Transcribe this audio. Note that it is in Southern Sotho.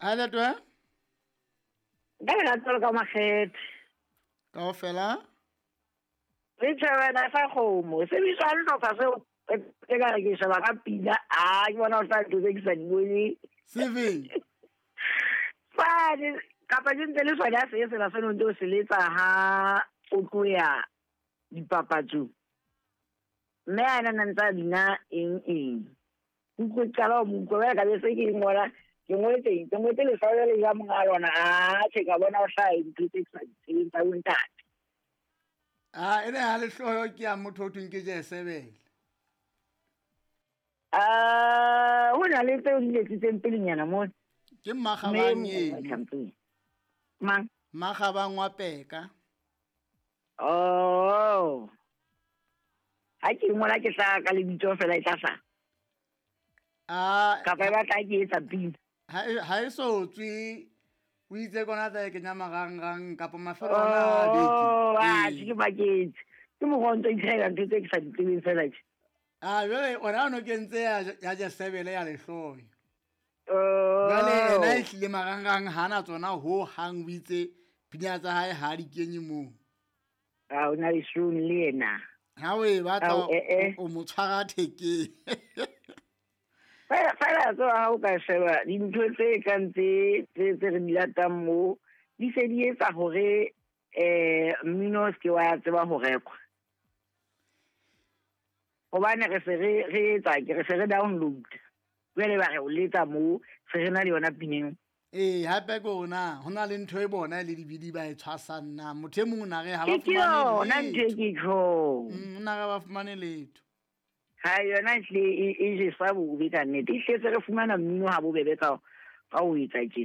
A letwe? Ka lerato le ka makgethe. Kaofela? Le tjhebana sa kgomo. Se bitswang hlopha seo e ka re ke sheba ka pina. A ke bona o tla ntho tse ke sa di boneng. Sefeng? Fane kapa ke ntse le sona se sena se no ntse o se letsa ha o tloya dipapatsong. Mme a na ntse a bina eng eng. Utlwe qala ho mo utlwa jwale ka be se ke ngola ke ngotse ke ngotse leswao le ja monga lona a tjhe ka bona o hlaha dintho tse ke sa di tsebeng tsa bontate. A ene ha lehloyo ke ya motho o thweng ke Jesebele. A ho na le tseo di letsitseng pelenyana mona. Ke Mmakgabang eno. Mang? Mmakgabang wa Peka. Oh. Ha ke ngola ke tla ka lebitso fela e tla hlaha. Ah, Kapa e batla ke etsa pina. Ha e so tswe o itse kona tla e kenya marangrang kapa mafelo ona a beke. Oh, ah, ke baketse. Ke mokgwa o ntso itlhahela ntho tse ke sa di tsebeng fela tje. Ah, jwale ona o no kentse ya Jesebele ya lehloyo. Oh. Jwale ena e tlile marangrang ha na tsona ho hang o itse pina tsa hae ha di kenye moo. A o na le soon le yena. Ha o e batla o mo tshwara thekeng. Fela fela tso ha o ka sheba dintho tse kang tse tse re di latang mo di se di etsa hore mmino o se ke wa tseba ho rekwa. Hobane re se re etsa ke re se re download. Jwale ba re o letsa mo se re na le yona pineng. Ee, hape ke ona ho na le ntho e bona e le dibidi ba e tshwasang na motho e mong o na re ha ba Ke yona fumane ntho e letho. ke tjhong. O na re ba fumane letho. Ha yona ehlile e jesa bobe ka nnete. Ehlile se re fumana mmino ha bobebe ka ho etsa tjena.